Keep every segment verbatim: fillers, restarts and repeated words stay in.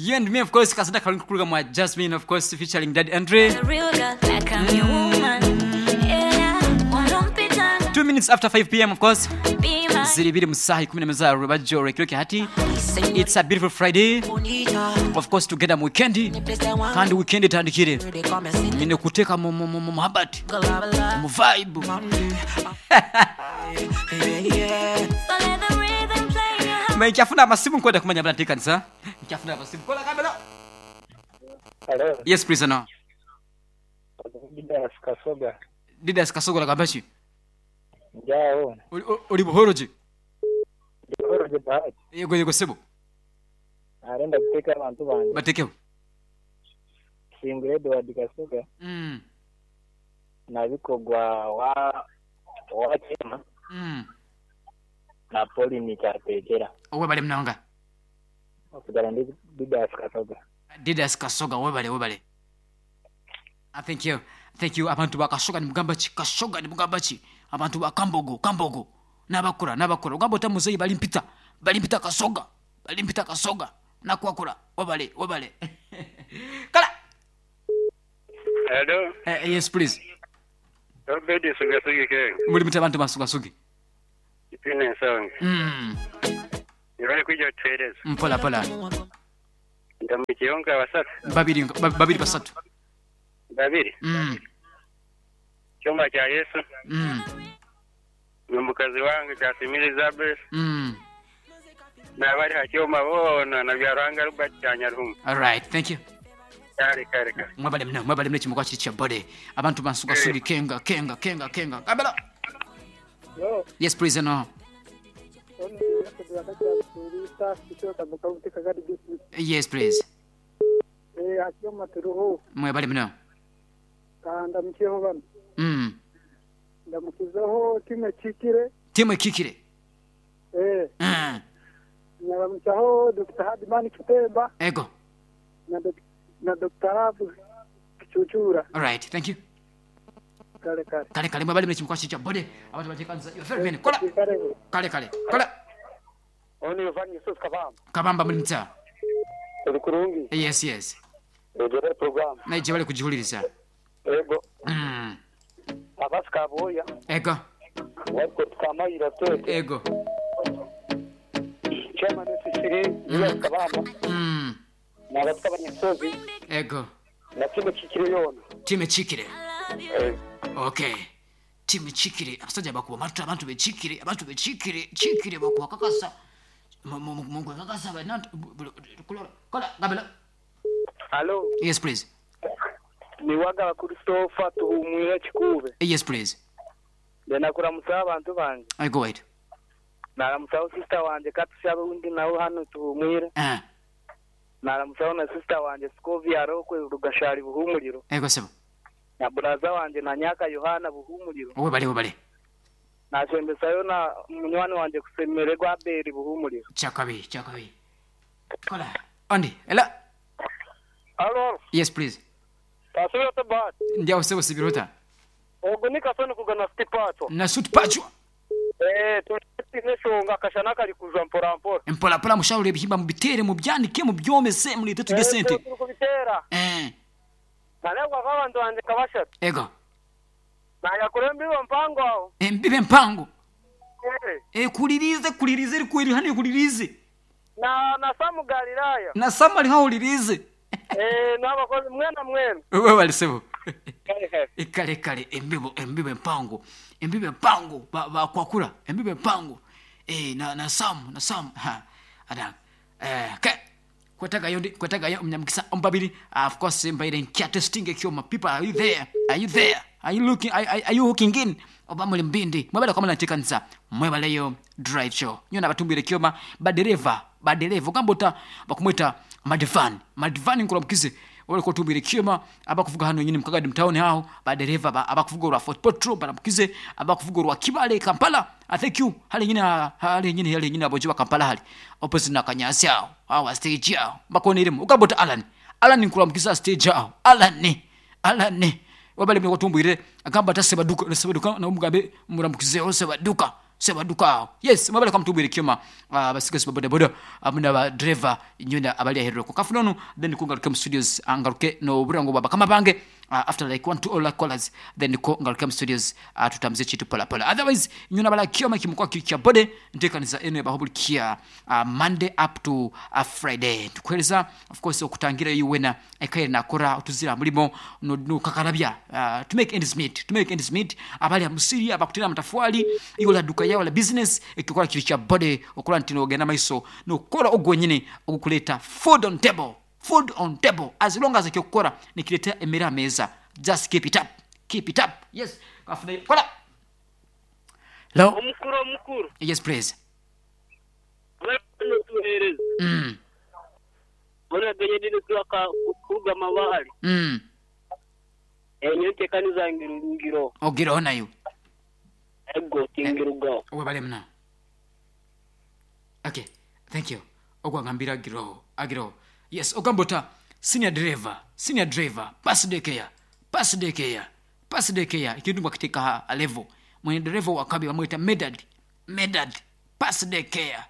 You and me, of course, kasanda kalungi kuruga mwa Jasmine, of course, featuring Daddy Andre. Two minutes after five p m, of course. Ziri biri mu saha ikumi n'imwe za Rubajo Rekiroke hati. It's a beautiful Friday. Of course, together mu weekend. Kandi weekend itandikire. Nyine kuteka mu mu mu mu muhabati. Mu vibe. Nkyafuna amasimu nkwenda kumanya bana tekanisa. Nkyafuna amasimu. Kola kamera. Hello. Yes, please no. Didas Kasoga. Didas Kasoga lagambachi. Njao. Uri buhoroje. Buhoroje bahati. Yego yego sebo. Arenda kuteka abantu banje. Batekeho. Singure Edward Kasoga. Mm. Nabikogwa wa wa chema. Mm. Na Pauline Chategera. Owe bale mnanga. Okugala ndi Didas Kasoga. Didas Kasoga webale webale. I thank you. Thank you abantu bakashoga ni mugamba ki kashoga ni mugamba ki abantu bakambogo kambogo nabakura nabakura ugamba otamuzeyi bali mpita bali mpita kasoga bali mpita kasoga nakwakura webale webale. Kala. Hello. Uh, yes please. Obedi sugasugi ke. Muri mita abantu basugasugi. Ipine nsonga. Mm. Ibali kuja tueleza. Mpola pola. Ndamukiyonga basatu. Babiri babiri basatu. Babiri. Mm. Chomba cha Yesu. Mm. Mukazi wange Kasimiri Elizabeth. Mm. Na bali hakyoma bona na byaranga Robert Chanyarumu. All right, thank you. Kare kare kare. Mwabale mna mwabale mna chimukwa chicha bode. Abantu bansuka sugi kenga kenga kenga kenga. Kabela. Yo. Yes, please no. Yes, please. Eh, hakyoma turuho. Mwabale mna. Kanda mkiho bana. Mm. Ndamukizaho time kikire. Time kikire. Eh. Mm. Ndamukizaho Doctor Hadimani Kitemba. Ego. Na na Doctor Rabu Kichuchura. All right, thank you. Kale kale. Kale kale mwabale mna chimukwa chicha bode. Abantu batekanza. You're very many. Kola. Kale kale. Kola. Oni Yohani Yusuf Kabamba. Kabamba muri mta. Uri kurungi. Yes, yes. Ejere program. Naije bale kujihuliriza. Ego. Mm. Abasika boya. Ego. Wako tukamayira twete. Ego. Chairman Sisiri, mm. Kabamba. Mm. Na abasika banyisozi. Ego. Na time kikire yona. Time kikire. Eh. Okay. Time kikire abasajja bakuba matu abantu bekikire abantu bekikire kikire bakuba kakasa. Mungu kakasa bana kola gabela. Hello. Yes please. Ni wagala Christopher tuhumwira kikube. Yes please. Ndena musaba abantu banje. I go ahead. Naramusaba sister wanje katushabe undi nawe hano tuhumwira. Eh. Naramusaba na sister wanje Scovia Rokwe Rugashari buhumuriro. Ego sebo. Na braza wanje na Nyaka Yohana buhumuriro. Owe bale bale. Nashembesayo na munywani wanje kusemererwa Abeli buhumuriro. Chakabi chakabi. Kola. Andi, ela. Hello. Yes please. Tasubira bat. Ndia sebo sibirota. Ogo nikasoni kugana stipacho. Na suit pacho. Eh, tulineshonga kashana kali kuzwa mpora mpora. Mpora mpora mushauri ebihimba mubitere mubyanike mubyomese mulete tujye sente. Eh, kubitera. Eh. Nalekwa abantu banje kabasha. Ego. Naya kurembi mpango aho. Embibe mpango. Eh. Eh, kulirize kulirize likwiri hani kulirize. Na na Samu Galilaya. Na Samu ali haulirize. Eh, nabakozi mwena mwena. Wewe walisebo. Ikale kale embibo embibe mpango. Embibe mpango ba, ba kwakura embibe mpango. Eh, na na Samu na Samu ha. Ada. Eh, ke kwetaga yondi kwetaga yo mnyamkisa ombabiri. Uh, of course mbaire nkya testing ekyoma. People, are you there? Are you there? Are you looking are, are, are you hooking in? Oba muli mbindi. Mwebale kwa mwana mwebale yo drive show. Nyona batumbire kyoma badereva badereva ogambota bakumweta Madivani. Madivani nkulamukize. Wale kotumbire kyoma abakuvuga hano nyini mukagadi mtaoni hao badereva ba, abakuvuga rwa Fort Portal baramukize abakuvuga rwa Kibale Kampala. I thank you. Hali nyini hali nyini hali nyini abojiba Kampala hali opposite na Kanyasi hao hao stage hao bakoniremu ogambota Alan. Alan nkulamukiza stage hao Alan Alan wabale mwe kotumbire agamba tasebaduka sebaduka na umugabe muramukize sebaduka Sebaduka aho. Yes, mwebale kamutubwire kyoma abasigasi ba boda boda amuna ba driver nyunda abali aheroko. Kafunono then kungaruke mu studios angaruke no burango baba kama bange uh, after like one two all like callers then ko ngaruke mu studios uh, tutamze chitu pola pola. Otherwise nyuna bala kyoma kimukwa kya bode ntekaniza eno yabahobulikia uh, Monday up to uh, Friday. Tukuhereza of course okutangira yuwena ekaire nakora utuzira mulimo no, no kakarabya uh, to make ends meet to make ends meet abali amusiri abakutira matafuali iyola duka yawe la business ekikola kiri kya bode okola nti nogenda maiso nokora ogwenyine ogukuleta food on table food on table as long as ekyokukora nikireta emere ameza just keep it up keep it up yes kafuna kola hello Omukuru omukuru. yes please Tuhereza. mm Bona genye dini tuwaka kuruga mabali. mm Enyo ntekaniza ngiro. ogireho nayo Ego tingirugaho. webale muna okay thank you ogwagambira agiroho agiroho yes ogambota senior driver senior driver pass daycare pass daycare pass daycare ekintu ngwakiteeka ha level mwene driver wakabi bamweta medad medad pass daycare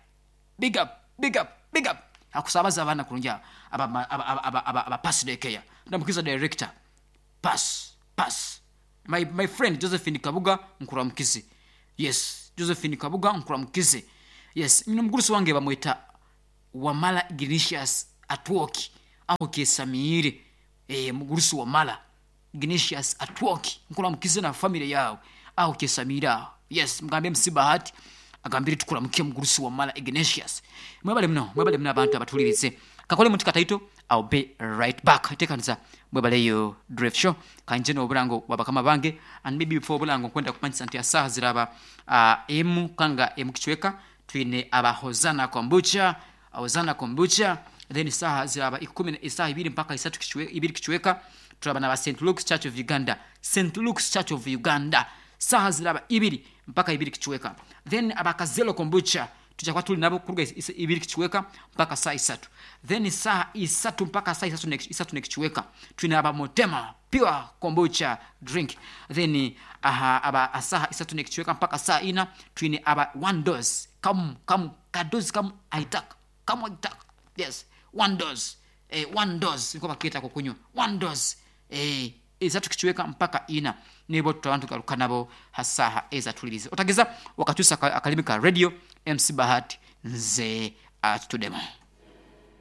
big up big up big up akusabaza abaana kurungi aba aba aba aba aba, aba pass daycare ndamukiza director pass pass my, my friend josephine kabuga nkuramukize yes josephine kabuga nkuramukize yes mino mugurusi wange bamweta wamala ignatius atwoki aho kesamiire e, mugurusi wamala ignatius atwoki nkuramukize na family yawe aho kesamiire aho yes mugambe msibahati agambire tukuramukie mugurusi wamala ignatius mwebale muno mwebale muno abantu abatulirize kakole muti kataito I'll be right back tekanisa mwebaleyo drive show kanje n'obulango bwabakama bange and maybe before obulango nkwenda kumanyisa nti asaha ziraba uh, emu kanga emu kichweka twine abahozana kombucha ahozana kombucha then isaha ziraba ikumi isaha ibiri mpaka isatu kichwe, ibiri kichweka turaba na ba St Luke's Church of Uganda St Luke's Church of Uganda saha ziraba ibiri mpaka ibiri kichweka then abakazelo kombucha tujakuba tuli nabo kuruga is- is- ibiri kichweka mpaka saa isatu then saa isatu mpaka saa isatu ne- isatu nekichweka twina aba motema pure kombucha drink then aha aba asaha isatu nekichweka mpaka saa ina twine aba one dose kamu kamu kadozi kamu aitaka kamu aitaka yes one dose eh, one dose niko bakita kukunywa one dose eh, isatu kichweka mpaka ina nibo tutabantu garuka nabo hasaha ezatulirize otageza wakatusa akalimi ka radio mc bahati nze atudemo.